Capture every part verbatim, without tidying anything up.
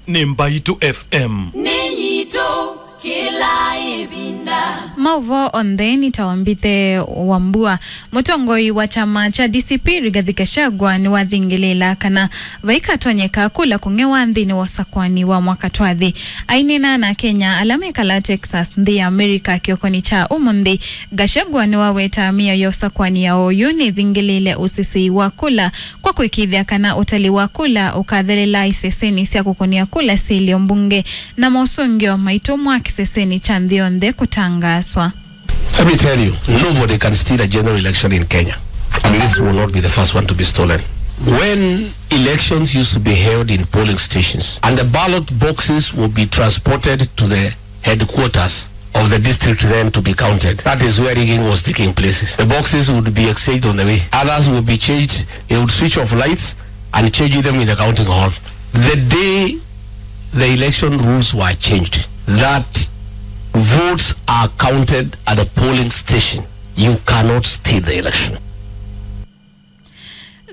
Nĩ Mbaitũ F M. Nĩ yitũ kĩla ĩvinda. Maũvoo onthe nĩ ta wa mbithe wa mbua. Mũtongoi wa kyama kya D C P Rigathi Gachagua nĩwathingĩlĩĩla kana vaikatonyeka kula kũng'ewa nthĩnĩ wa ũsakwani wa mwaka twathi. Aineena na Akenya ala mekalaa Texas, nthĩ ya America, kĩokonĩ kya ũmũnthĩ, Gachagua nĩwaweta mĩao ya ũsakwani ya oyu nĩthingĩlĩĩle ũsesei wa kula kwa kũĩkĩĩthya kana ũtali wa kula ũkathelela isesenĩ sya kũkũnĩa kula syĩ ilio mbunge na mosũngĩo maitũmwa kĩsesenĩ kya nthĩ yonthe kũtangaaswa. Let me tell you, nobody can steal a general election in Kenya. And this will not be the first one to be stolen. When elections used to be held in polling stations, and the ballot boxes will be transported to the headquarters of the district then to be counted. That is where rigging was taking place. The boxes would be exchanged on the way. Others would be changed. They would switch off lights and change them in the counting hall. The day the election rules were changed, that votes are counted at the polling station, you cannot steal the election.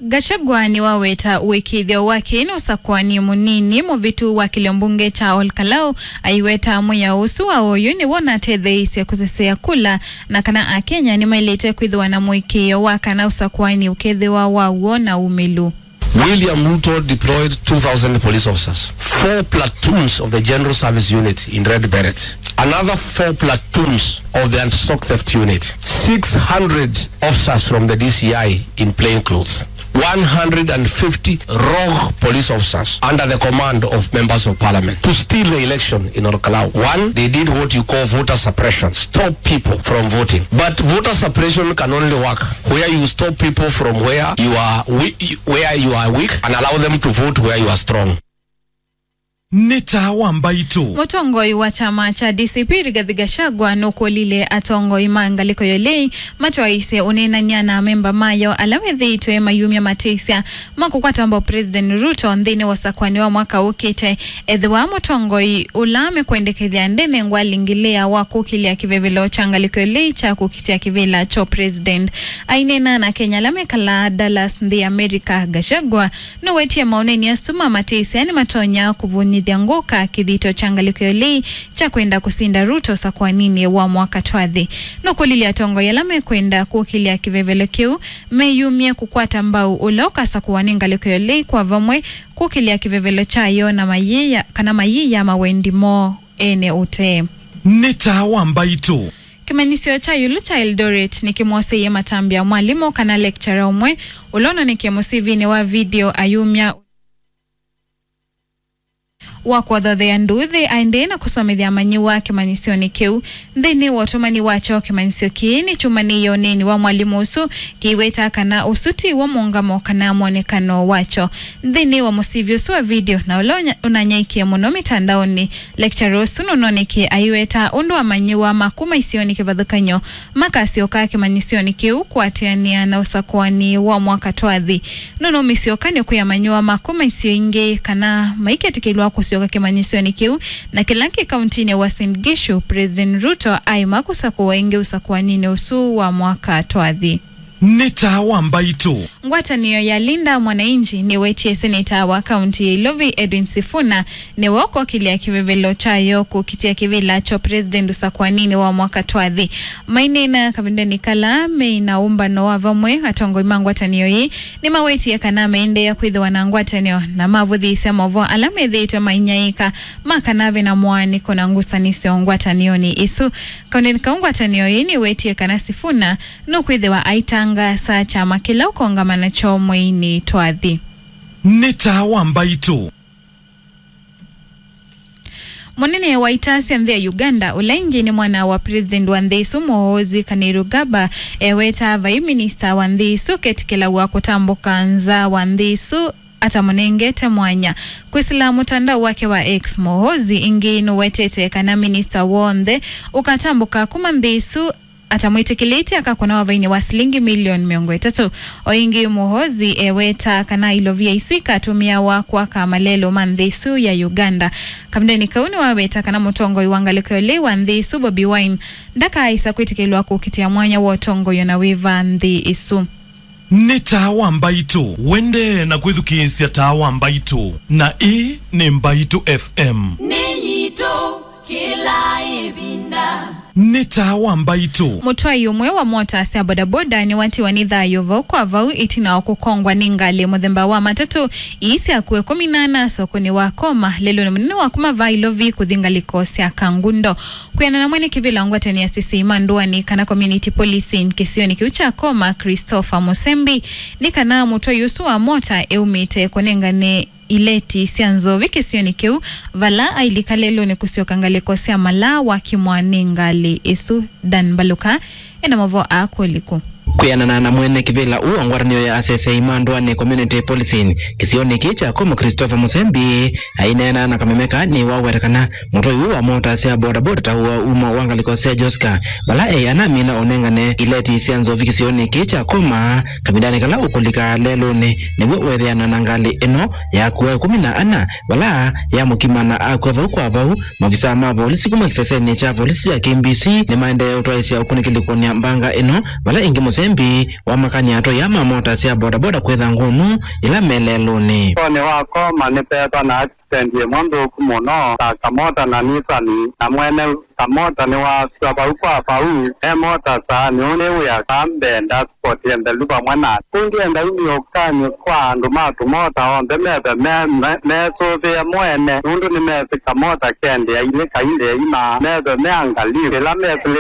Gachagua nĩwaweta ũĩkĩĩthyo wake nĩ ũsakwani mũnini mũvĩtu wa kĩlio mbunge kya Ol Kalou, aiweta mwĩao ũsu wa oyu nĩw'o ũnatetheeisye kũsesea kula, na kana Akenya nĩmaĩlĩte kwĩthĩwa na mũĩkĩĩo wa kana ũsakwani ũkethĩwa wa w'o na umĩlu. William Ruto deployed two thousand police officers, four platoons of the General Service Unit in Red Berets, another four platoons of the Anti-Stock Theft Unit, six hundred officers from the D C I in plain clothes, one hundred fifty rogue police officers under the command of members of parliament to steal the election in Ol Kalou. One, they did what you call voter suppression. Stop people from voting. But voter suppression can only work where you stop people from where you are we-, where you are weak and allow them to vote where you are strong. Nĩ taa wa Mbaitũ. Mũtongoi wa kyama kya D C P Rigathi Gachagua nũkũlilye atongoi ma ngalĩko ya ũlei matwaĩĩsye ũneenany'a na amemba mayo ala methĩĩtwe mayumya matĩsya ma kũkwata mbau President Ruto nthĩnĩ wa ũsakwani wa mwaka ũkĩte. Ethĩwa mũtongoi ũla mekwendekethya ndenengwa lingilea wa kũkĩlya kĩvevelo kya ngalĩko ya ũlei kya kũkitĩa kĩvĩla kya president. Aineena na Akenya ala mekalaa Dallas, nthĩ ya America, Gachagua nũwetie maũneenany'a asu ma matĩsya nĩmatonya kũvũnyĩthya ngũka kĩthito kya ngalĩko ya ũlei kya kwenda kũsinda Ruto ũsakwaninĩ wa mwaka twathi. Nũkũlilye atongoi ala mekwenda kũkĩlya kĩvevelo kĩu meyumye kũkwata mbau ũla ũkasakũwa nĩ ngalĩko ya ũlei kwa vamwe kũkĩlya kĩvevelo kyayo na mayĩya, kana mayĩya mawendi moo ene ũtee. Nĩ taa wa Mbaitũ. Kĩmanyĩsyo kya ĩũlũ kya Eldoret nĩkĩmwoseie matambya mwalimũ kana lecturer ũmwe ũla ũnonĩkie mũsivinĩ wa video ayumya wa kũthothea nduuthĩ aendee na kũsomethya amanyĩw'a kĩmanyĩsyonĩ kĩu. Nthĩnĩ wa ũtũmani wakyo, kĩmanyĩsyo kĩĩ nĩkyumanĩie ũneeni wa mwalimũ ũsu kĩiweta kana ũsu tiw'o mũũngamo kana mwonekano wakyo. Nthĩnĩ wa mũsivi ũsu wa video, na ũla ũnya-, ũnanyaĩĩkie mũno mĩtandaonĩ, lecturer ũsu nũnonĩkie aiweta ũndũ amanyĩw'a ma kuma isionĩ kĩvathũkany'o makasyoka kĩmanyĩsyonĩ kĩu kũatĩanĩa na ũsakũani wa mwaka twathi. Nũnũmisye ũkany'o kwĩ amanyĩw'a ma kuma isio ingĩ kana maiketĩkĩlwa kũsyoka kĩmanyĩsyonĩ kĩu, na kĩla kĩ kauntinĩ ya Uasin Gishu, President Ruto aima kũsakũwa ĩngĩ ũsakũaninĩ ũsu wa mwaka twathi. Nĩ taa wa Mbaitũ. Ngwatanĩo ya Linda Mwananchi nĩwetie seneta wa kaunti ya Ilovi Edwin Sifuna nĩwe ũkokĩlya kĩvevelo kyayo kũkitĩa kĩvĩla kya president ũsakũaninĩ wa mwaka twathi. Maineena kavindanĩ kala meĩ na ũmbano wa vamwe, atongoi ma ngwatanĩo ii nĩmawetie kana meendeea kwĩthĩwa na ngwatanĩo na mavũthĩĩsya maũvoo ala methĩĩtwe mainyaĩĩka ma kana ve na mũaanĩko na ngusanĩsyo ngwatanĩonĩ isu. Kavindanĩ kau ngwatanĩo ii nĩwetie kana Sifuna nũkwĩthĩwa aitangaasa kyama kĩla ũkongama nakyo mweinĩ twathi. Nĩ taa wa Mbaitũ. Mũnene wa ita sya nthĩ ya Uganda, ũla ĩngĩ nĩ mwana wa president wa nthĩ ĩsu, Muhoozi Kainerugaba, eweta vai minista wa nthĩ ĩsu ketĩkĩlaw'a kũtambũka nza wa nthĩ ĩsu atamũnengete mwanya. Kwĩsĩla mũtandao wake wa X, Muhoozi ĩngĩ nũwetete kana minista w'onthe ũkatambũka kuma nthĩ ĩsu atamwĩtĩkĩlĩtye akakũnawa vainĩ wa silingi milioni mĩongo ĩtatũ. O ĩngĩ, Muhoozi eweta kana ilovia isu ikatũmĩawa kwaka malelũ ma nthĩ ĩsu ya Uganda. Kavindanĩ kau nĩwaweta kana mũtongoi wa ngalĩko ya ũlei wa nthĩ ĩsu, Bobi Wine, ndakaaĩsa kwĩtĩkĩlwa kũkitĩa mwanya wa ũtongoi o na wĩva nthĩ ĩsu. Nĩ Taa wa Mbaitũ. Wendee na kwĩthukĩĩsya Taa wa Mbaitũ, na ĩĩ nĩ Mbaitũ F M. Nĩ yitũ kĩla ĩvinda. Nĩ Taa wa Mbaitũ. Mũtwai ũmwe wa mota sya bodaboda nĩwatiwa nĩ thayũ vau kwa vau ĩtina wa kũkongwa nĩ ngalĩ mũthemba wa matatũ ii sya kũe kũminana sokonĩ wa Koma lelũnĩ mũnene wa kuma vaa Ilovi kũthi ngalĩko sya Kangundo. Kwĩanana na mwene kĩvĩla ngwatanĩo ya asesei ma ndũanĩ kana community policing kĩsionĩ kĩu kya Koma, Christopher Musembi, nĩ kana mũtwai ũsu wa mota eumĩte kũnengane ileti sya nzovi kĩsionĩ kĩu, vala ailika lelũnĩ kũsyoka ngalĩko sya Malaa wakimwa nĩ ngalĩ ĩsu. Dan Mbaluka ena mavo aa kũliku. Kwĩanana na mwene kĩvĩla ũũ wa ngwatanĩo ya asesei ma ndũanĩ community policing kĩsionĩ kĩĩ kya Koma, Christopher Musembi, aineena na kamemeka nĩwaweta kana mũtwai ũũ wa mota sya bodaboda ta ũa uma wa ngalĩko sya Joska, vala e anamina ũnengane ileti sya nzovi kĩsionĩ kĩĩ kya Koma kavindanĩ kala ũkũlika lelũnĩ, nĩw'o weethĩana na ngalĩ ĩno ya kũa ĩkũmi na ana, vala yamũkima na akw'a vau kwa vau. Mavisaa ma volisi kuma kĩsesenĩ kya volisi kya K B C nĩmaendee ũtwaĩsya ũkunĩkĩli kũnĩa mbanga ĩno, vala ĩngĩ Musembi wamakany'a atwaĩa ma mota sya bodaboda kwĩtha ngũnũ yĩla me lelũnĩ. Sokoni wa Koma nĩpeetwa na accident ĩmwe nthũku mũno, ta kamota na Nissan, na mwene kamota nĩwasw'a vau kwa vau, e mota saanĩ, ũũ nĩ wĩa ka mbee, dashboard nthelu vamwe na. Kũu ndyenda umie ũkanĩ kwa andũ ma tũmota onthe methe me, me, mesũvĩe mwene, nũndũ nĩmesĩ kamota kendea ilĩ kaindea ima, methe me angalivu ĩla mesĩlĩte.